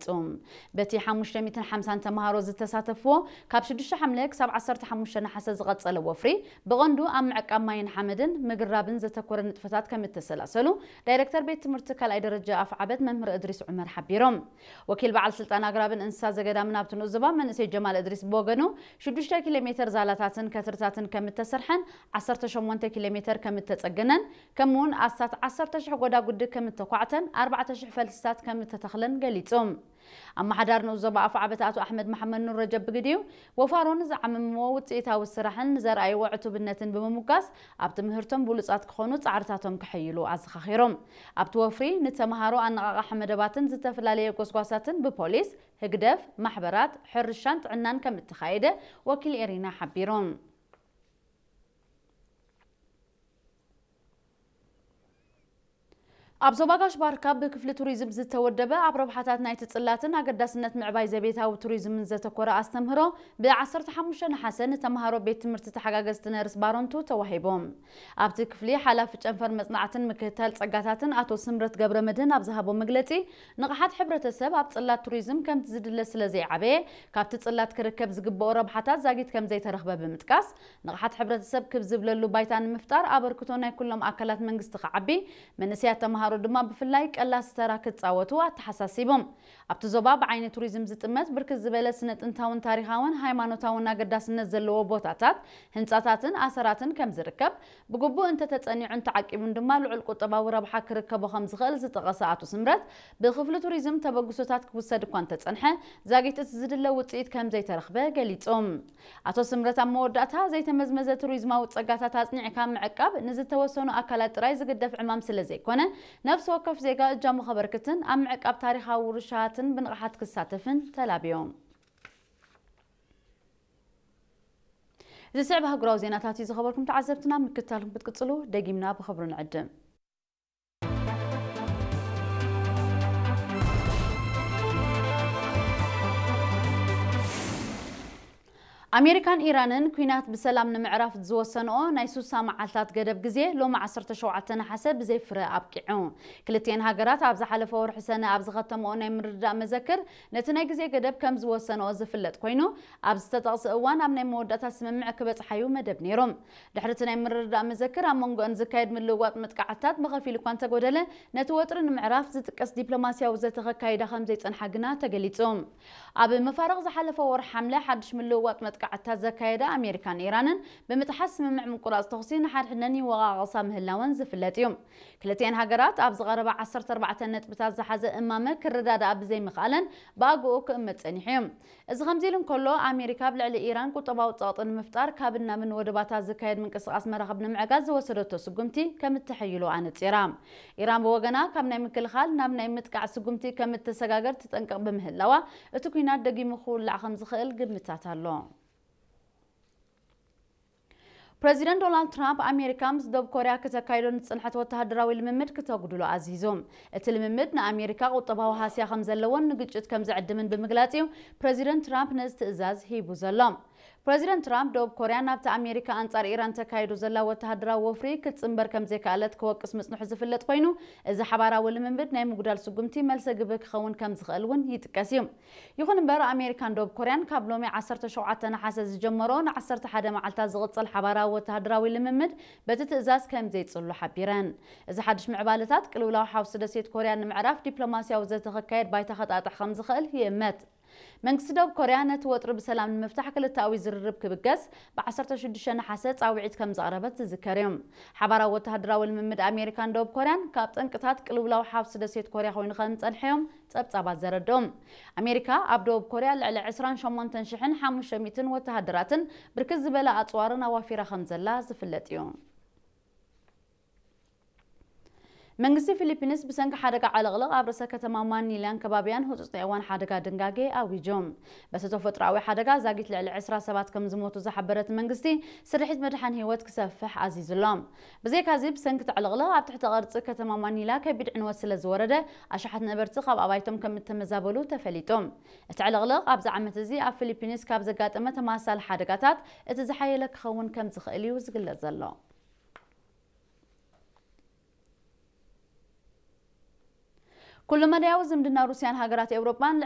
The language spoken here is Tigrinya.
ኣፍሊጡ። በቲ ሓሙሽተ ሚእትን ሓምሳን ተምሃሮ ዝተሳተፍዎ ካብ ሽዱሽተ ሓምለ ክሳብ ዓሰርተ ሓሙሽተ ነሓሰ ዝቐጸለ ወፍሪ ብቐንዱ ኣብ ምዕቃብ ማይን ሓመድን ምግራብን ዘተኮረ ንጥፈታት ከም እተሰላሰሉ ዳይሬክተር ቤት ትምህርቲ ካልኣይ ደረጃ ኣፍዓበት መምህር እድሪስ ዑመር ሓቢሮም። ወኪል በዓል ስልጣን ኣግራብን እንስሳ ዘገዳምን ኣብቲ ንኡስ ዞባ መንእሰይ ጀማል እድሪስ ብወገኑ ሽዱሽተ ኪሎ ሜተር ዛላታትን ከትርታትን ከም እተሰርሐን ዓሰርተ ሸሞንተ ኪሎ ሜተር ከም እተጸገነን ከምኡውን ኣስታት ዓሰርተ ሽሕ ጎዳጉዲ ከም እተኳዕተን ኣርባዕተ ሽሕ ፈልስታት ከም እተተኽለን ገሊጾም። ኣመሓዳሪ ንኡስ ዞባ ኣፍዓበት ኣቶ ኣሕመድ መሓመድ ኑር ረጀብ ብግዲኡ ወፋሮን ዝዓመምዎ ውፅኢታዊ ስራሕን ንዘርኣይዎ ዕቱብነትን ብምሙጋስ ኣብ ትምህርቶም ብሉፃት ክኾኑ ፃዕርታቶም ከሐይሉ ኣዘኻኺሮም። ኣብቲ ወፍሪ ንተምሃሮ ኣነቓቓሒ መደባትን ዝተፈላለየ ጎስጓሳትን ብፖሊስ፣ ህግደፍ፣ ማሕበራት፣ ሕርሻን ጥዕናን ከም እተኻየደ ወኪል ኤሪና ሓቢሮም። ኣብ ዞባ ጋሽ ባርካ ብክፍሊ ቱሪዝም ዝተወደበ ኣብ ረብሓታት ናይቲ ጽላትን ኣገዳስነት ምዕባይ ዘቤታዊ ቱሪዝምን ዘተኮረ ኣስተምህሮ ብ ዓሰርተ ሓሙሽተ ነሓሰ ንተምሃሮ ቤት ትምህርቲ ተሓጋገዝቲ ነርስ ባረንቱ ተዋሂቦም። ኣብቲ ክፍሊ ሓላፊ ጨንፈር መጽናዕትን ምክትታል ጸጋታትን ኣቶ ስምረት ገብረ መድህን ኣብ ዝሃቦ መግለጺ፣ ንቕሓት ሕብረተሰብ ኣብ ጽላት ቱሪዝም ከምቲ ዝድለ ስለ ዘይዓበየ፣ ካብቲ ጽላት ክርከብ ዝግብኦ ረብሓታት ዛጊት ከም ዘይተረኽበ ብምጥቃስ፣ ንቕሓት ሕብረተሰብ ክብ ዝብለሉ ባይታ ንምፍጣር ኣበርክቶ ናይ ኩሎም ኣካላት መንግስቲ ክዓቢ፣ መንእሰያት ተምሃሮ ድማ ብፍላይ ቀላሲ ተራ ክጻወቱ ኣተሓሳሲቦም። ኣብቲ ዞባ ብዓይኒ ቱሪዝም ዝጥመት ብርክት ዝበለ ስነ ጥንታውን ታሪኻውን ሃይማኖታውን ኣገዳስነት ዘለዎ ቦታታት፣ ህንጻታትን ኣሰራትን ከም ዝርከብ፣ ብግቡእ እንተተጸኒዑን ተዓቂቡን ድማ ልዑል ቁጠባዊ ረብሓ ክርከቦ ከም ዝኽእል ዝጠቐሰ ኣቶ ስምረት፣ ብክፍሊ ቱሪዝም ተበግሶታት ክውሰድ እኳ እንተጸንሐ፣ ዛጊት እቲ ዝድለ ውጽኢት ከም ዘይተረኽበ ገሊጾም። ኣቶ ስምረት ኣብ መወዳእታ፣ ዘይተመዝመዘ ቱሪዝማዊ ጸጋታት ኣጽኒዕካ ምዕቃብ ንዝተወሰኑ ኣካላት ጥራይ ዝግደፍ ዕማም ስለ ዘይኮነ፣ ነፍሲ ወከፍ ዜጋ እጃሙ ከበርክትን ኣብ ምዕቃብ ታሪኻዊ ውርሻትን ብንቕሓት ክሳተፍን ተላብዮም። ዝስዕብ ኣህጉራዊ ዜናታት እዩ ዝኸበርኩም ተዓዘብትና፣ ምክትታልኩም ክትቅጽሉ ደጊምና ብኽብሪ ንዕድም። ኣሜሪካን ኢራንን ኲናት ብሰላም ንምዕራፍ ዝወሰንኦ ናይ ሱሳ መዓልታት ገደብ ግዜ ሎሚ ዓሰርተ ሸውዓተ ነሓሰ ብዘይ ፍረ ኣብቂዑ። ክልቲኤን ሃገራት ኣብ ዝሓለፈ ወርሒ ሰነ ኣብ ዝኸተምኦ ናይ ምርድዳእ መዘክር ነቲ ናይ ግዜ ገደብ ከም ዝወሰንኦ ዝፍለጥ ኮይኑ፣ ኣብ ዝተጠቕሰ እዋን ኣብ ናይ መወዳእታ ስምምዕ ክበጽሓዩ መደብ ነይሩ። ድሕሪ እቲ ናይ ምርድዳእ መዘክር ኣብ መንጎአን ዝካየድ ምልውዋጥ መጥቃዕትታት ብኸፊል እኳ እንተጎደለ፣ ነቲ ወጥሪ ንምዕራፍ ዝጥቀስ ዲፕሎማስያዊ ዘተ ከካይዳ ከም ዘይጸንሓ ግና ተገሊጹ። ኣብ መፋርቕ ዝሓለፈ ወርሒ ሓምለ ሓድሽ ምልውዋጥ መጥቃዕትታት ዘካየዳ ኣሜሪካን ኢራንን ብምጥሓስ ስምምዕ ምቁራጽ ተኹሲ ንሓድሕደን ይወቓቐሳ ምህላወን ዝፍለጥ እዩ። ክልቲኤን ሃገራት ኣብ ዝቐረባ ዓሰርተ ኣርባዕተ ነጥብታት ዝሓዘ እማመ ክረዳድኣ ብዘይምኽኣለን ብኣግኡ ክእመት ጸኒሑ እዩ። እዚ ከምዚ ኢሉ እንከሎ፣ ኣሜሪካ ኣብ ልዕሊ ኢራን ቁጠባዊ ጸቕጢ ንምፍጣር ካብን ናብን ወደባታ ዝካየድ ምንቅስቓስ መራኽብ ንምዕጋት ዝወሰደቶ ስጉምቲ ከም እተሐይሉ ኣነጺራ። ኢራን ብወገና ካብ ናይ ምክልኻል ናብ ናይ ምጥቃዕ ስጉምቲ ከም እተሰጋገር ትጠንቀቕ ብምህላዋ፣ እቲ ኲናት ደጊሙ ክውላዕ ከም ዝኽእል ግምታት ኣሎ። ፕረዚደንት ዶናልድ ትራምፕ ኣሜሪካ ምስ ደቡብ ኮርያ ክተካይዶ ንዝጸንሐት ወተሃደራዊ ልምምድ ክተጉድሎ ኣዚዙ። እቲ ልምምድ ንኣሜሪካ ቁጠባዊ ሃስያ ከም ዘለዎን ንግጭት ከም ዝዕድምን ብምግላጽ እዩ ፕረዚደንት ትራምፕ ነዚ ትእዛዝ ሂቡ ዘሎ። ፕረዚደንት ትራምፕ ደቡብ ኮርያ ናብቲ ኣሜሪካ ኣንጻር ኢራን ተካይዶ ዘላ ወተሃደራዊ ወፍሪ ክትጽንበር ከም ዘይከኣለት ክወቅስ ምጽንሑ ዝፍለጥ ኮይኑ፣ እዚ ሓባራዊ ልምምድ ናይ ምጉዳል ስጉምቲ መልሰ ግብሪ ክኸውን ከም ዝኽእል እውን ይጥቀስ እዩ። ይኹን እምበር፣ ኣሜሪካን ደቡብ ኮርያን ካብ ሎሚ ዓሰርተ ሸውዓተ ነሓሰ ዝጀመሮ ንዓሰርተ ሓደ መዓልታት ዝቕጽል ሓባራዊ ወተሃደራዊ ልምምድ በቲ ትእዛዝ ከም ዘይጽሉ ሓቢረን። እዚ ሓድሽ ምዕባለታት ቅልውላው ሓውሲ ደሴት ኮርያ ንምዕራፍ ዲፕሎማስያዊ ዘተ ክካየድ ባይታ ከጣጥሕ ከም ዝኽእል ይእመት። መንግስቲ ደቡብ ኮርያ ነቲ ወጥሪ ብሰላም ንምፍታሕ ክልተኣዊ ዝርርብ ክብገስ ብ ዓሰርተ ሽዱሽተ ነሓሰ ጻውዒት ከም ዘቕረበት ዝዝከር እዩ። ሓባራዊ ወተሃደራዊ ልምምድ ኣሜሪካን ደቡብ ኮርያን ካብ ጠንቅታት ቅልውላው ሓውሲ ደሴት ኮርያ ኮይኑ ከም ዝጸንሐ እዮም ጸብጻባት ዘረድኡ። ኣሜሪካ ኣብ ደቡብ ኮርያ ልዕሊ ዕስራን ሸሞንተን ሽሕን ሓሙሽተ ሚእትን ወተሃደራትን ብርክት ዝበለ ኣጽዋርን ኣዋፊራ ከም ዘላ ዝፍለጥ እዩ። መንግስቲ ፊሊፒንስ ብሰንኪ ሓደጋ ዕልቕልቕ ኣብ ርእሰ ከተማ ማኒላን ከባቢያን ህጹጽ ናይ እዋን ሓደጋ ድንጋጌ ኣዊጁ። በቲ ተፈጥሮኣዊ ሓደጋ ዛጊት ልዕሊ ዕስራ ሰባት ከም ዝሞቱ ዝሓበረ እቲ መንግስቲ፣ ስርሒት ምድሓን ህይወት ክሰፍሕ ኣዚዙ ኣሎ። ብዘይካዚ፣ ብሰንኪ እቲ ዕልቕልቕ ኣብ ትሕቲ ቅርጺ ከተማ ማኒላ ከቢድ ዕንወት ስለ ዝወረደ፣ ኣሽሓት ነበርቲ ካብ ኣባይቶም ከም እተመዛበሉ ተፈሊጡ። እቲ ዕልቕልቕ ኣብዚ ዓመት እዚ ኣብ ፊሊፒንስ ካብ ዘጋጠመ ተመሳሳሊ ሓደጋታት እቲ ዝሓየለ ክኸውን ከም ዝኽእል እዩ ዝግለጽ ዘሎ። ኩሉ መዳያዊ ዝምድና ሩስያን ሃገራት ኤውሮጳን